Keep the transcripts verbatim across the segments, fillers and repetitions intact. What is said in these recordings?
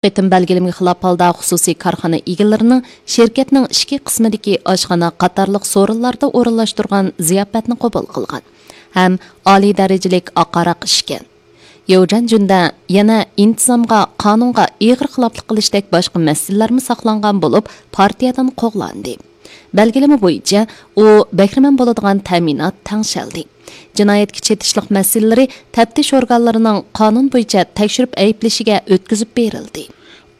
قېتىم بەلگىلىمىگە خىلاپ ھالدا خۇسۇسىي كارخانا ئىگىلىرىنىڭ شىركەتنىڭ ئىچكى قىسمىدىكى ئاشخانا قاتارلىق سورۇنلاردا ئورۇنلاشتۇرغان زىياپەتنى قوبۇل قىلغان ھەم ئالىي دەرىجىلىك ئاق ھاراق ئىچكەن. يوجەن جۈندە يەنە ئىنتىزامغا، قانۇنغا ئېغىر خىلاپلىق قىلىشتەك باشقا مەسىلىلەرمۇ ساقلانغان بولۇپ، پارتىيەدىن قوغلاندى. بەلگىلىمە بويىچە، ئۇ بەھرىمەن بولىدىغان تەمىنات تەڭشەلدى. جىنايەتكە چېتىشلىق مەسىلىلىرى تەپتىش ئورگانلىرىنىڭ قانۇن بويىچە تەكشۈرۈپ ئەيىبلىشىگە ئۆتكۈزۈپ بېرىلدى.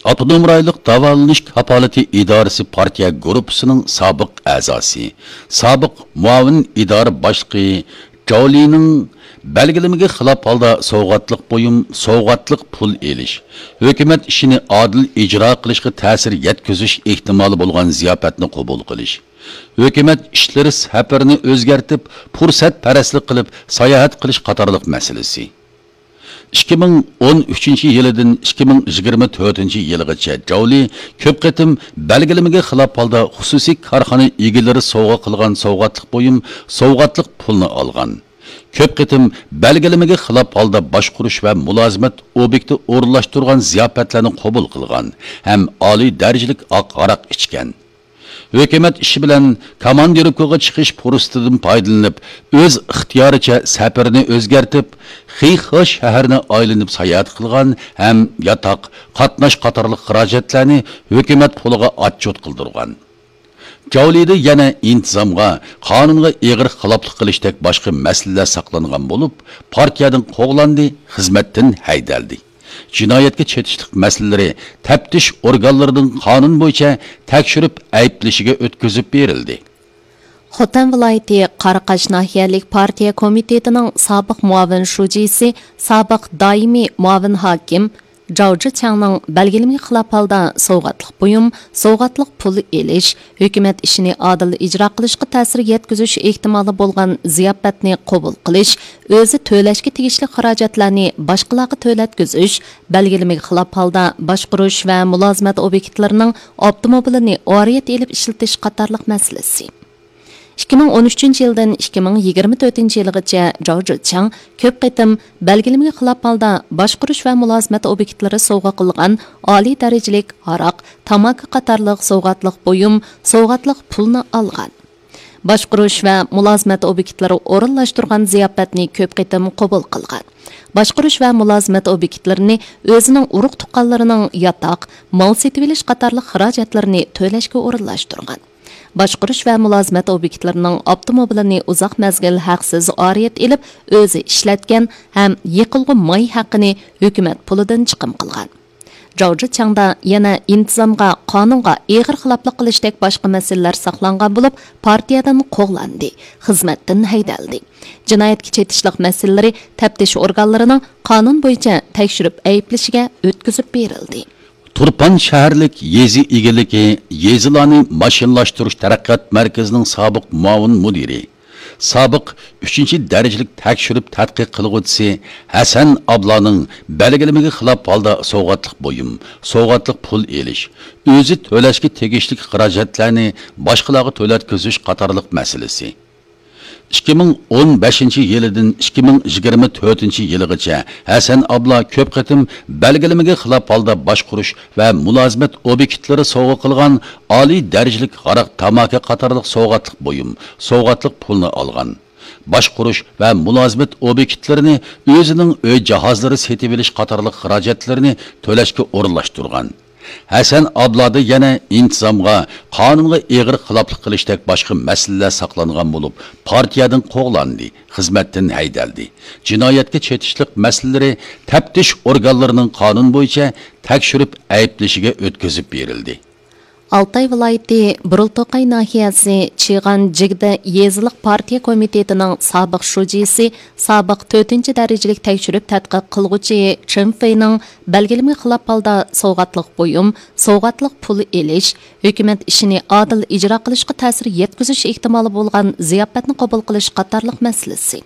ئاپتونوم رايونلۇق داۋالىنىش كاپالىتى ئىدارىسى پارتىيە گۇرۇپپىسىنىڭ سابىق ئەزاسى، سابىق مۇئاۋىن ئىدارە باشلىقى جاۋلىنىڭ بەلگىلىمىگە خىلاپ ھالدا سوۋغاتلىق بۇيۇم، سوۋغاتلىق پۇل ئېلىش، ھۆكۈمەت ئىشىنى ئادىل ئىجرا قىلىشقا تەسىر يەتكۈزۈش ئېھتىمالى بولغان زىياپەتنى قوبۇل قىلىش، ھۆكۈمەت ئىشلىرى سەپىرىنى ئۆزگەرتىپ، پۇرسەتپەرەسلىك قىلىپ ساياھەت قىلىش قاتارلىق مەسىلىسى. ئىككى مىڭ ئون ئۈچىنچى يىلىدىن ئىككى مىڭ يىگىرمە تۆتىنچى يىلىغىچە جاۋلى كۆپ قېتىم بەلگىلىمىگە خىلاپ ھالدا خۇسۇسىي كارخانا ئىگىلىرى سوۋغا قىلغان سوۋغاتلىق بۇيۇم، سوۋغاتلىق پۇلنى ئالغان. كۆپ قېتىم بەلگىلىمىگە خىلاپ ھالدا باشقۇرۇش ۋە مۇلازىمەت ئوبيېكتى ئورۇنلاشتۇرغان زىياپەتلەرنى قوبۇل قىلغان ھەم ئالىي دەرىجىلىك ئاق ھاراق ئىچكەن. ھۆكۈمەت ئىشى بىلەن كاماندىروپكىغا چىقىش پۇرسىتىدىن پايدىلىنىپ، ئۆز ئىختىيارىچە سەپىرىنى ئۆزگەرتىپ، خىخې شەھىرىنى ئايلىنىپ ساياھەت قىلغان ھەم ياتاق، قاتناش قاتارلىق خىراجەتلەرنى ھۆكۈمەت پۇلىغا ئاتچوت قىلدۇرغان. جاۋلىدا يەنە ئىنتىزامغا، قانۇنغا ئېغىر خىلاپلىق قىلىشتەك باشقا مەسىلىلەر ساقلانغان بولۇپ، پارتىيەدىن قوغلاندى، خىزمەتتىن ھەيدەلدى. جىنايەتكە چېتىشلىق مەسىلىلىرى تەپتىش ئورگانلىرىنىڭ قانۇن بويىچە تەكشۈرۈپ ئەيىبلىشىگە ئۆتكۈزۈپ بېرىلدى. خوتەن ۋىلايىتى قاراقاش ناھىيەلىك پارتىيە كومىتېتىنىڭ سابىق مۇئاۋىن شۇجىسى، سابىق دائىمىي مۇئاۋىن ھاكىم جاۋ جىچياڭنىڭ بەلگىلىمىگە خىلاپ ھالدا سوۋغاتلىق بۇيۇم، سوۋغاتلىق پۇل ئېلىش، ھۆكۈمەت ئىشىنى ئادىل ئىجرا قىلىشقا تەسىر يەتكۈزۈش ئېھتىمالى بولغان زىياپەتنى قوبۇل قىلىش، ئۆزى تۆلەشكە تېگىشلىك خىراجەتلەرنى باشقىلارغا تۆلەتكۈزۈش، بەلگىلىمىگە خىلاپ ھالدا باشقۇرۇش ۋە مۇلازىمەت ئوبيېكتلىرىنىڭ ئاپتوموبىلىنى ئارىيەت ئېلىپ ئىشلىتىش قاتارلىق مەسىلىسى. ئىككى مىڭ ئون ئۈچىنچى يىلدىن ئىككى مىڭ يىگىرمە تۆتىنچى يىلغىچە جاۋ جىچياڭ كۆپ قېتىم بەلگىلىمىگە خىلاپ ھالدا باشقۇرۇش ۋە مۇلازىمەت ئوبيېكتلىرى سوۋغا قىلغان ئالىي دەرىجىلىك ھاراق، تاماكا قاتارلىق سوۋغاتلىق بۇيۇم، سوۋغاتلىق پۇلنى ئالغان. باشقۇرۇش ۋە مۇلازىمەت ئوبيېكتلىرى ئورۇنلاشتۇرغان زىياپەتنى كۆپ قېتىم قوبۇل قىلغان. باشقۇرۇش ۋە مۇلازىمەت ئوبيېكتلىرىنى ئۆزىنىڭ ئۇرۇق-تۇغقانلىرىنىڭ ياتاق، مال سېتىۋېلىش قاتارلىق خىراجەتلىرىنى تۆلەشكە ئورۇنلاشتۇرغان. باشقۇرۇش ۋە مۇلازىمەت ئوبيېكتلىرىنىڭ ئاپتوموبىلىنى ئۇزاق مەزگىل ھەقسىز ئارىيەت ئېلىپ، ئۆزى ئىشلەتكەن ھەم يېقىلغۇ ماي ھەققىنى ھۆكۈمەت پۇلىدىن چىقىم قىلغان. جاۋ جىچياڭدا يەنە ئىنتىزامغا، قانۇنغا ئېغىر خىلاپلىق قىلىشتەك باشقا مەسىلىلەر ساقلانغان بولۇپ، پارتىيەدىن قوغلاندى، خىزمەتتىن ھەيدەلدى. جىنايەتكە چېتىشلىق مەسىلىلىرى تەپتىش ئورگانلىرىنىڭ قانۇن بويىچە تەكشۈرۈپ ئەيىبلىشىگە ئۆتكۈزۈپ بېرىلدى. تۇرپان شەھەرلىك يېزا ئىگىلىكى، يېزىلارنى ماشىنىلاشتۇرۇش تەرەققىيات مەركىزىنىڭ سابىق مۇئاۋىن مۇدىرى، سابىق ئۈچىنچى دەرىجىلىك تەكشۈرۈپ تەتقىق قىلغۇچىسى ھەسەن ئابلانىڭ بەلگىلىمىگە خىلاپ ھالدا سوۋغاتلىق بۇيۇم، سوۋغاتلىق پۇل ئېلىش، ئۆزى تۆلەشكە تېگىشلىك خىراجەتلەرنى باشقىلارغا تۆلەتكۈزۈش قاتارلىق مەسىلىسى. ئىككى مىڭ ئون بەشىنچى يىلىدىن ئىككى مىڭ يىگىرمە تۆتىنچى يىلىغىچە ھەسەن ئابلا كۆپ قېتىم بەلگىلىمىگە خىلاپ ھالدا باشقۇرۇش ۋە مۇلازىمەت ئوبيېكتلىرى سوۋغا قىلغان ئالىي دەرىجىلىك ھاراق، تاماكا قاتارلىق سوۋغاتلىق بۇيۇم، سوۋغاتلىق پۇلنى ئالغان. باشقۇرۇش ۋە مۇلازىمەت ئوبيېكتلىرىنى، ئۆزىنىڭ ئۆي جاھازلىرى سېتىۋېلىش قاتارلىق خىراجەتلىرىنى تۆلەشكە ئورۇنلاشتۇرغان. ھەسەن ئابلادا يەنە ئىنتىزامغا، قانۇنغا ئېغىر خىلاپلىق قىلىشتەك باشقا مەسىلىلەر ساقلانغان بولۇپ، پارتىيەدىن قوغلاندى، خىزمەتتىن ھەيدەلدى. جىنايەتكە چېتىشلىق مەسىلىلىرى تەپتىش ئورگانلىرىنىڭ قانۇن بويىچە تەكشۈرۈپ ئەيىبلىشىگە ئۆتكۈزۈپ بېرىلدى. ئالتاي ۋىلايىتى بۇرۇلتوقاي ناھىيەسى چىغان جىگدە يېزىلىق پارتىيە كومىتېتىنىڭ سابىق شۇجىسى، سابىق تۆتىنچى دەرىجىلىك تەكشۈرۈپ تەتقىق قىلغۇچى چېن فېينىڭ بەلگىلىمىگە خىلاپ ھالدا سوۋغاتلىق بۇيۇم، سوۋغاتلىق پۇل ئېلىش، ھۆكۈمەت ئىشىنى ئادىل ئىجرا قىلىشقا تەسىر يەتكۈزۈش ئېھتىمالى بولغان زىياپەتنى قوبۇل قىلىش قاتارلىق مەسىلىسى.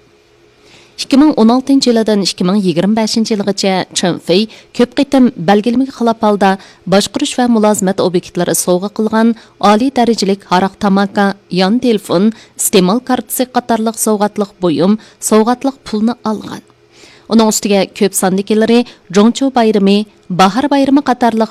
ئىككى مىڭ ئون ئالتىنچى يىلىدىن ئىككى مىڭ يىگىرمە بەشىنچى يىلغىچە چېن فېي كۆپ قېتىم بەلگىلىمىگە خىلاپ ھالدا باشقۇرۇش ۋە مۇلازىمەت ئوبيېكتلىرى سوۋغا قىلغان ئالىي دەرىجىلىك ھاراق، تاماكا، يان تېلېفون، ئىستېمال كارتىسى قاتارلىق سوۋغاتلىق بۇيۇم، سوۋغاتلىق پۇلنى ئالغان. ئۇنىڭ ئۈستىگە كۆپ ساندىكىلىرى جۇڭچۇ بايرىمى، باھار بايرىمى قاتارلىق